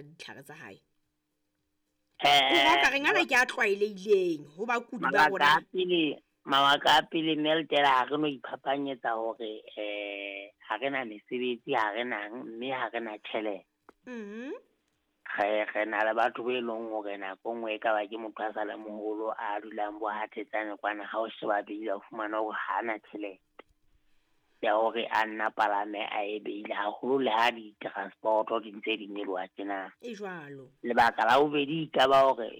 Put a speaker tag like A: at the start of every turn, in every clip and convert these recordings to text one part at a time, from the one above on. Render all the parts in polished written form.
A: Ditlhare tsa hae. O ka reng ana ke a tlwaelehileng ho bakudi ba rona?
B: Mabaka a pele Meltela, ha re no iphapanyetsa hore ha re na mesebetsi, ha re nang, mme ha re na tjhelete. Re na le batho be leng hore nako e nngwe e ka ba ke motho a sa le moholo a dulang bo ha Thetsane kwana, ha o sheba beile o fumana hore ha ana tjhelete ya hore a nna palame a e beile, haholo le ha di-transport-o di ntse di nyoloha tjena.
A: E jwalo.
B: Lebaka la bobedi e ka ba hore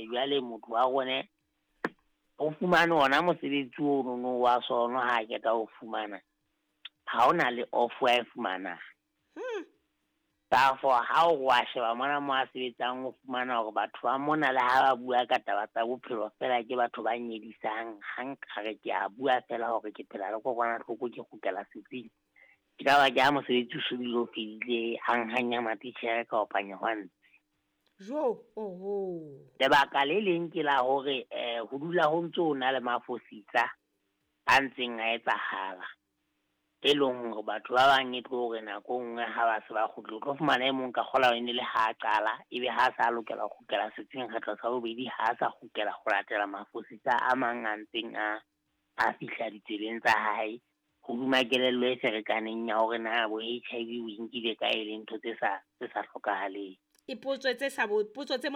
B: jwale motho wa rone o fumane ona mosebetsi ono wa sono, ha a qeta ho fumana ha ona le off a e fumanang. Therefore ha o wa sheba mona mo a sebetsang, o fumana hore batho ba mona le ha ba bua ka taba tsa bophelo fela ke batho ba nyedisang. Ha nkare ke a bua fela hore ke phela le kokwanahloko, ke kgutlela setsing, ke ka ba ke ha mosebetsi o so bile o fedile, hanghang ya matitjhere ka opanya hwa ntse.
A: Jo, oho.
B: Lebaka le leng ke la hore ho dula ho ntso ho na le mafosisa a ntseng a etsahala, e leng hore batho ba bang e tlo hore nako e nngwe ha ba se ba kgutlile, o tlo fumana e mong ka kgola e ne le ha a qala, ebe ha sa lokela ho kgutlela setsing kgetlo sa bobedi, ha sa kgutlela ho latela mafosisa a mang a ntseng a fihla ditsebeng tsa hae, hodima kelello e ferekaneng ya hore na bo HIV o e nkile kae, le ntho tse sa hlokahaleng.
A: E potso tse sa potso tse